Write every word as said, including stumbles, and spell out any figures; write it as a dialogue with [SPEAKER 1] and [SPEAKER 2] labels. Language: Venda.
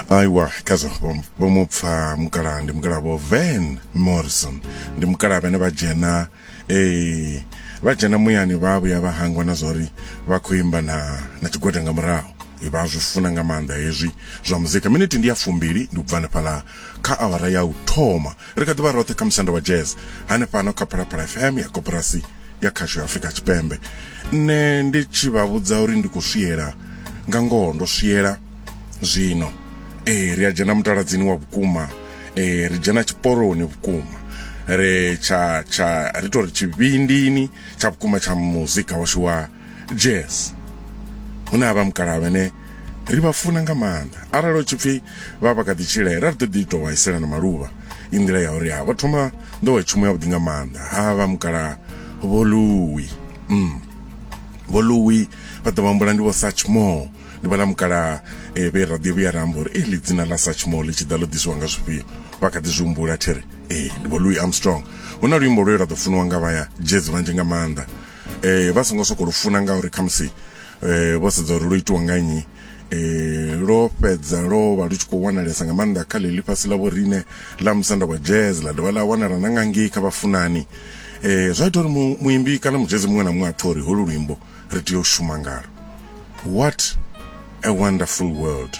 [SPEAKER 1] Aiwa, khazwo vho mu pfa mukalaha, ndi mukalaha Vho Van Morrison, ndi mukalaha vhane vha dzhena eh vha dzhena muyani, vha vhuya vha hangwa na zwori vha khou imba na na tshigwada nga murahu. Vha zwi funa nga maanḓa hezwi zwa muzika. Miniti ndi ya fumbili ndi u bva hanefhaḽa kha awara ya u thoma. Ri kha ḓivha roṱhe kha Musanda wa Jazz hanefhano kha Phalaphala F M ya Koporasi ya Khasho ya Afrika Tshipembe. Nṋe ndi tshi vha vhudza uri ndi khou swiela nga ngoho, ndo swiela zwino. Ee, ri a dzhena mutaladzini wa vhukuma, ee, ri dzhena tshiporoni vhukuma, ri tsha tsha ri tori tshivhindini tsha vhukuma tsha muzika washu wa jazz, hune ha vha mukalaha vhene ri vha funa nga maanḓa. Arali u tshi pfhi vha vha kha ḓi tshila, ra ri ḓo ḓi tou vhaisela na maluvha i nḓila ya uri ha vha thoma nḓowetshumo ya vhuḓi nga maanḓa. Ha vha mukalaha Vho Louis, mm. Vho Louis vha ḓo vhambula ndi Vho Satchmore, ndi vhala mukalaha eh, vhe ra ḓi vhuya ra amba uri eḽi dzina ḽa Satchmore ḽi tshi ḓa ḽo ḓisiwa nga zwifhio, vha kha ḓi zwi humbula there. Ee, ndi Vho Louis Armstrong. Hu na luimbo lwe lwa ḓo funiwa nga vhaya jazz vhanzhi nga maanḓa, eh, vha songo sokou lu funa ngauri khamusi eh, vho sedza uri lwo itiwa nga nnyi. eh, lwo fhedza lwo vha lu tshi khou wanalesa nga maanḓa kha ḽeḽi fhasi ḽa vhorine ḽa Musanda wa Jazz, ḽa dovha ḽa wanala na nga ngei kha vhafunani. eh, zwa ita uri muimbi kana mujazz muṅwe na muṅwe a pfhe uri holu luimbo ri tea u shuma ngalo, "What a Wonderful World".